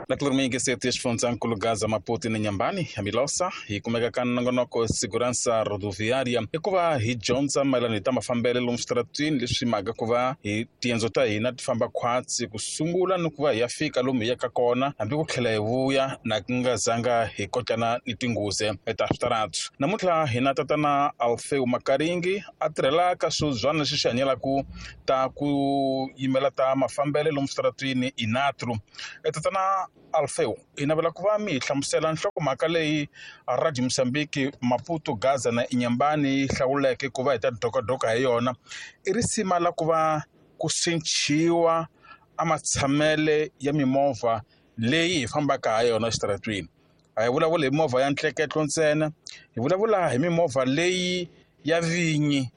Na ku ri muyingiseti xifundzankulu Gaza Maputo ni Nyambani ya Milosa hi kumeka ka nongonoko Segurança Rodoviária i ku va hi dyondza mayelana hi ta mafambelo lomu switaratwini leswi mhaka ku va hi tiendzo ta hina ti famba khwatsi ku sungula ni ku va hi ya fika lomu hi yaka kona hambi ku tlhela hi vuya na ku nga zanga hi kotlana ni tinghozi ta switaratu. Namuntlha hina tatana Alfeu Makaringi a tirhela ka swibyana leswi swi hanyelaka ta ku yimela ta mafambelo lomu switaratwini Inatru. Tatana Alfeu hi navela ku va mi hi hlamusela nhlokomhaka leyi Radio Mozambique Maputo Gaza na Inyambani yi hlawuleke ku va hi ta dokadoka hi yona i risima la ku va ku cinciwa a matshamele ya mimovha leyi hi fambaka ha yona exitaratwini. A hi vulavuli hi movha ya ntleketlo ntsena hi vulavula hi mimovha leyi ya vinyi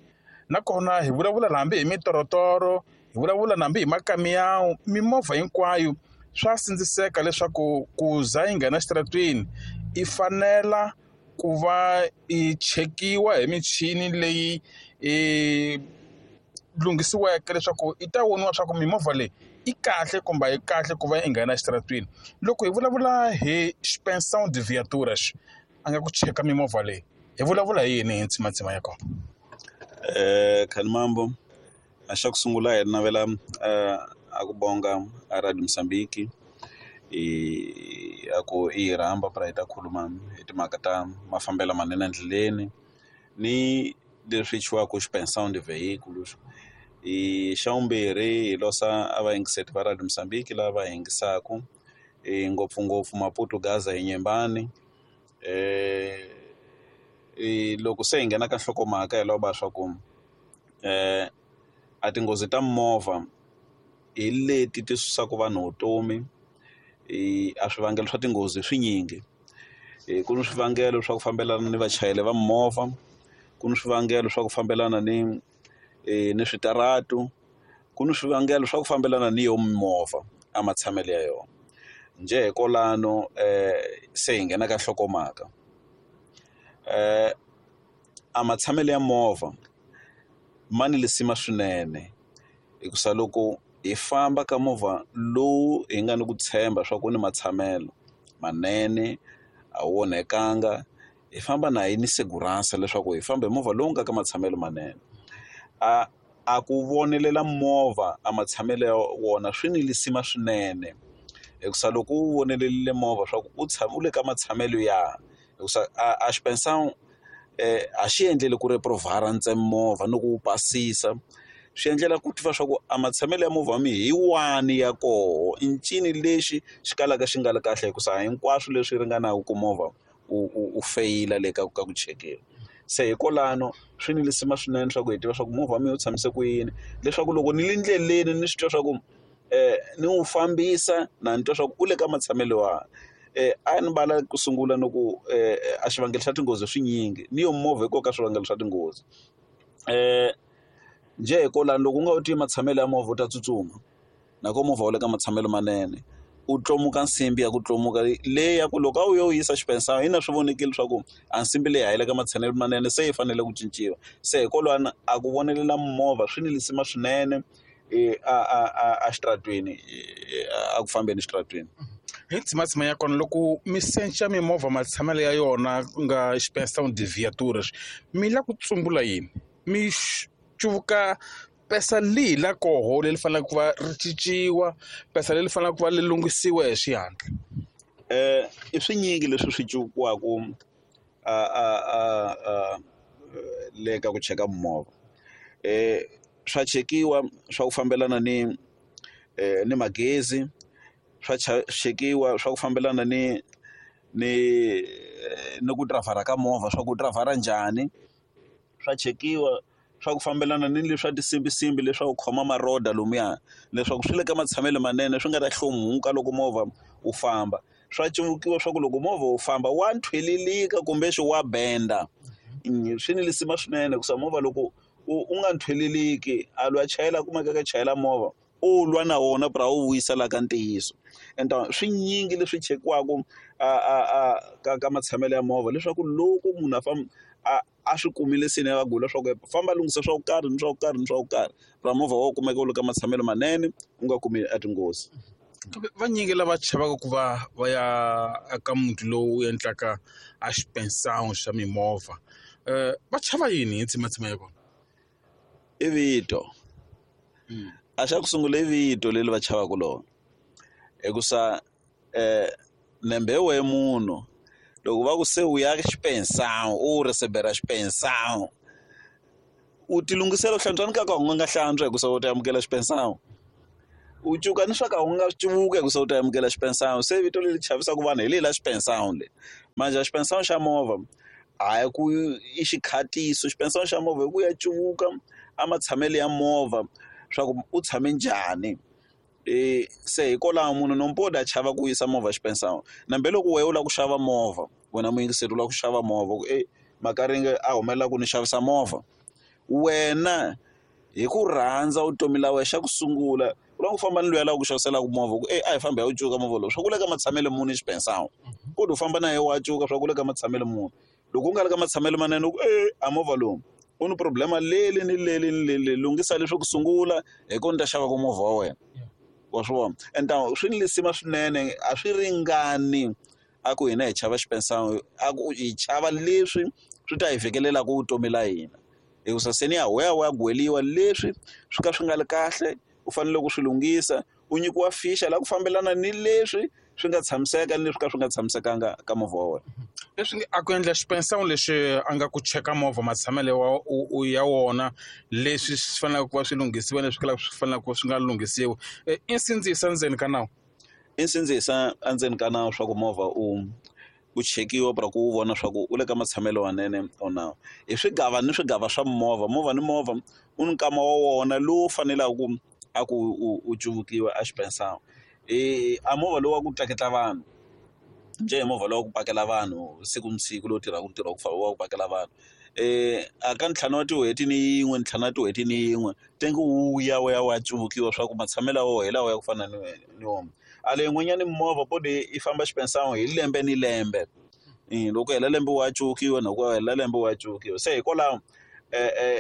nakona hi vulavula hambi hi mitorotoro hi vulavula hambi hi makamiyawu mimovha hinkwayo swa sindziseka leswaku ku za yi nghena exitaratwini i fanela ku va i chekiwa hi michini leyi i lunghisiweke leswaku i ta voniwa swa ku mimovha leyi i kahle kumbe a yi kahle ku va yi nghena exitaratwini. Loko hi vulavula hi inspeção de viaturas a nga ku cheka mimovha leyi hi vulavula hi yini hi ntsimantsima ya kona? Khanimambo a xa ku sungula hi navela a ku bonga a Radio Mozambique i a ku i hi rhamba pra hi ta khuluma hi timhaka ta mafambelo manene endleleni ni leswi thyiwaka inspeção de veículos. I xa vumbirhi hi losa a vayingiseri va Radio Mozambique lava va yingisaku ngopfungopfu Maputo Gaza hi Nyembani. Loko se hi nghena ka nhlokomhaka hi lava swa ku a tinghozi ta mimovha hi leti ti susaka vanhu vutomi a swivangelo swa tinghozi swinyingi. Ku ni swivangelo swa ku fambelana ni vachayeri va mimovha, ku ni swivangelo swa ku fambelana ni ni switaratu, ku ni swivangelo swa ku fambelana ni yo mimovha a matshamelo ya yona. Njhe hi kwalano se hi nghena ka nhlokomhaka. A matshamelo ya movha ma ni lisima swinene hikusa loko hi famba ka movha lowu hi nga ni ku tshemba swa ku ni matshamelo manene a wu onhekanga hi famba na hi ni segurança leswaku hi famba hi movha lowu nga ka matshamelo manene. A ku vonelela movha a matshamelo ya wona swi ni lisima swinene hikusa loko u vonelerile movha swa ku u tshama u le ka matshamelo ya hikusa a inspeção a xi endleli ku reprovhara ntsena movha ni ku wu pasisa swi endlela ku tiva swa ku a matshamelo ya movha wa mina hi wani ya koho i ncini lexi xi kalaka xi nga ri kahle hikusa hinkwaswo leswi ringanaka ku movha u feyila le ka ku chekiwa. Se hikwalano swi ni lisima swinene swa ku hi tiva swa ku movha wa mina wu tshamise ku yini leswaku loko ni le ndleleni ni swi twa swa ku ni wu fambisa na ni twa swa ku u le ka matshamelo wa a ni vala ku sungula ni ku a xivangelo xa tinghozi swinyingi ni yo movha hi koho ka swivangelo swa tinghozi. Njhe hi kwalano loko u nga wu tivi matshamelo ya movha u ta tsutsuma na ko movha wu le ka matshamelo manene u tlomuka nsimbi ya ku tlomuka leyi ya ku loko a wu yo yisa xipensana yi na swi vonekile leswaku a nsimbi leyi a yi le ka matshamelo manene se yi fanele ku cinciwa. Se hikwalano a ku vonelela movha swi ni lisima swinene a xitaratwini a ku fambeni exitaratwini. Hi ntsimantsima ya kona loko mi secha mimovha matshamelo ya yona ku nga inspeção de viaturas mi la ku tsumbula yini mi cuvuka pesa lihi la koho leri faneleke ku va ri cinciwa pesa leri faneleke ku va ri lunghisiwa hi xihatla? I swinyingi leswi swi cuvukiwaka a le ka ku cheka mimovha. Swa chekiwa swa ku fambelana ni magezi swa chekiwa swa ku fambelana ni ku dirayivhara ka movha swa ku u dirayivhara njhani swa chekiwa swa ku fambelana ni leswa tinsimbinsimbi leswaku khoma maroda lomuya leswaku swi le ka matshamelo manene swi nga ta hlomuka loko movha wu famba. Swa cuvukiwa swa ku loko movha wu famba wa nthwelelika kumbe wa benda swi ni lisima swinene hikusa movha loko u nga nthweleliki a loyi a chayela kumeka ka chayela movha u lwa na wona pra wu vuyisa la ka ntiyiso. Ende swinyingi leswi chekiwaka a ka matshamelo ya movha leswaku loko munhu a famba a swi kumile se ni ya gula swa ku famba lunghisa swa ku karhi ni swa ku karhi ni swa ku karhi ra movha wa kumeka wu le ka matshamelo manene u nga kumi a tinghozi. Kambe vanyingi lava chavaka ku va va ya eka muti lowu endlaka a xipensana xa mimovha va chava yini hi tsimatsima ya kona? I vito a xa ku sungula i vito leri va chavaka lona hikusa nembe wehe munhu loko va ku se u ya xipensana u receiver xipensana u ti lunghisela u hlantswa ni ka ka u nga hlantswa hikusa u ta amukela xipensana u cuka ni swa ka u nga cuvuka hikusa u ta amukela xipensana se vito leri chavisaka vanhu hi leri la xipensana leri manje xipensana xa movha a hi ku i xikhatiso xipensana xa movha hi ku ya cuvuka a matshamelo ya movha swa ku u tshame njhani se hikwalaho munhu nompoda a chava ku yisa movha xipensana nambe loko wehe u lava ku xava movha wena muyingiseri u lava ku xava movha ku e Makaringe a humelela ku ni xavisa movha wena hi ku rhandza vutomi la wena xa ku sungula u lava ku famba ni loyi a lava ku xaviselaka movha ku e a hi fambi hi ya wu cuka movha lowu swa ku le ka matshamelo muni xipensana kodwa u famba na yena wa cuka swa ku le ka matshamelo muni loko u nga ri ka matshamelo manene u ku e a movha lowu u ni problema leli ni leli ni leli lunghisa leswi ku sungula hi ko ni ta xavaka movha wa wena wa swi vona and swi ni lisima swinene a swi ringani a ku hina hi chava xipensana a ku hi chava leswi swi ta hi vhekelelaka vutomi la hina hikusa se ni ya wa ya gweliwa leswi swi ka swi nga ri kahle u fanele ku swi lunghisa u nyikiwa fixa la ku fambelana ni leswi swi nga tshamiseka ni leswi ka swi nga tshamisekanga ka movha wa wena. Leswi a ku endla xipensana lexi a nga ku cheka movha matshamelo wa ya wona leswi swi faneleke ku va swi lunghisiwa leswi kalaka swi faneleke ku swi nga lunghisiwi i nsindziso endzeni ka nawu. I nsindziso endzeni ka nawu swa ku movha u chekiwa pra ku u vona swa ku u le ka matshamelo manene or na hi swigava ni swigava swa movha movha ni movha u ni nkama wa wona lowu faneleke ku a ku u cuvukiwa a xipensana a movha lowu wa ku tleketla vanhu njhe hi movha lowu wa ku pakela vanhu siku ni siku lowu tirhaka ntirho wa ku wa ku pakela vanhu a ka ntlhanu wa tin'hweti ni yin'we ntlhanu wa tin'hweti ni yin'we tengi wu ya wu ya wu ya cuvukiwa swa ku matshamelo ya wona hi lawa ya ku fana ni wona a leyi yin'wanyani mimovha podi yi famba xipensana hi lembe ni lembe loko hela lembe wa cuvukiwa na ku hela lembe wa cuvukiwa se hikwalaho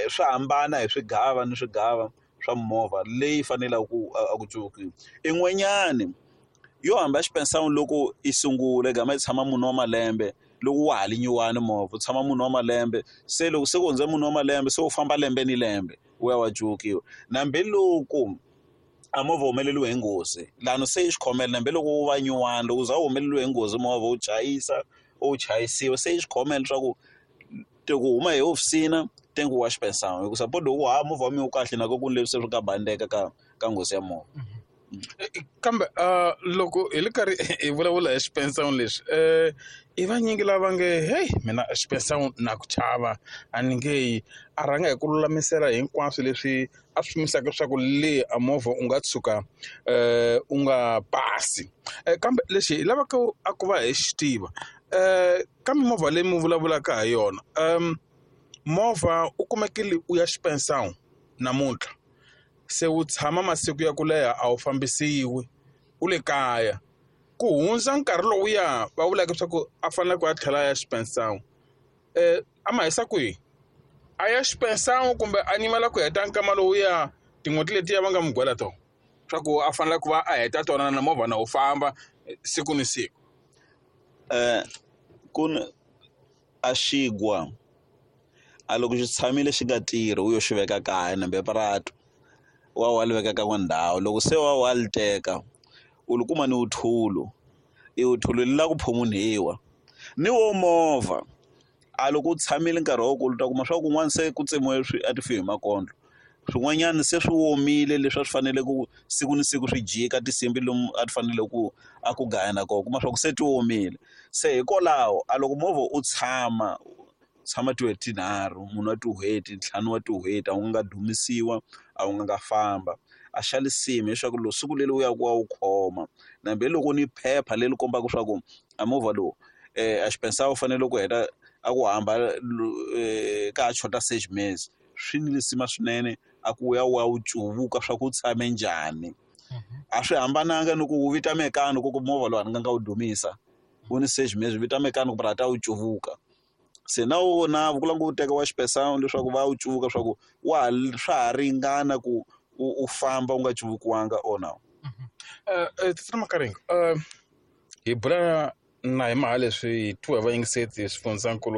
swa hambana hi swigava ni swigava swa movha leyi faneleke ku a ku cuvukiwa in'wanyani yo hamba xipensana loko i sungula gama yi tshama mune wa malembe loko wa ha li nyuwani movha u tshama mune wa malembe se loko se ku hundze mune wa malembe se u famba lembe ni lembe wu ya wa cuvukiwa nambe loko a movha humeleliwe hi nghozi lani se i xikhomela nambe loko wu va nyuwani loko u za u humeleliwe hi nghozi movha wu chayisa u chayisiwa se i xikhomela leswaku ku huma hi hofisini tengi wa xipensana hikusa suppose loko ha movha wa mina wu kahle na ku ni leswi se swi nga bandeka ka nghozi ya movha. Kambe loko hi ri karhi hi vulavula hi xipensana lexi i vanyingi lava nge heyi mina xipensana na ku chava a ni nge yi a rhanga hi ku lulamisela hinkwaswo leswi a swi pimisaka leswaku le a movha u nga tshuka u nga pasi kambe lexi hi lavaka a ku va hi xi tiva ka mimovha leyi mi vulavulaka ha yona movha u kumekile u ya xipensana namuntlha se wu tshama masiku ya ku leha a wu fambisiwi u le kaya ku hundza nkarhi lowuya va vulaka leswaku a fanele ku a tlhela a ya xipensana a ma hisa kwihi a ya xipensana kumbe a nyimela ku heta nkama lowuya tin'hweti letiya va nga n'wi gwela tona swa ku a fanele ku va a heta tona na movha na wu famba siku ni siku. Ku ni a xigwa a loko xi tshamile xi nga tirhi u yo xi veka kaya nambe puratu wa li veka ka n'we ndhawu loko se wa li teka u li kuma ni wuthulu i wuthulu li la ku phumunhiwa ni wo movha a loko u tshamile nkarhi wa kulu u ta kuma swa kun'wana se ku tsemiwe swi a ti fi hi makondlo swin'wanyana se swi omile leswi a swi fanele ku siku ni siku swi jika tinsimbhi lomu a ti fanele ku a ku gaya na kona kuma swa ku se ti omile se hikwalaho a loko movha u tshama tin'hweti tinharhu munhu wa tin'hweti ntlhanu wa tin'hweti a wu nga dumisiwa a wu nga famba a xa lisimi leswaku loko siku leri u ya ku wa wu khoma nambe loko ni phepha leri kombaka swa ku a movha lowu a xipensana u fanele ku heta a ku hamba ka ha xota sex mesi swi ni lisima swinene a ku ya wa wu cuvuka swa ku u tshame njhani a swi hambananga ni ku wu vita mekani ku movha lowu a ni nga nga wu dumisa wu ni sex mesi vita mekani ku ta wu cuvuka se na wona ku lava ku teka wa xipensana leswaku va wu cuvuka swa ku wa ha swa ha ringana ku u famba u nga cuvukiwanga or no. Tatana Makaringe hi bula na hi mhaka leswi hi twa hi vayingiseti swifundzankulu.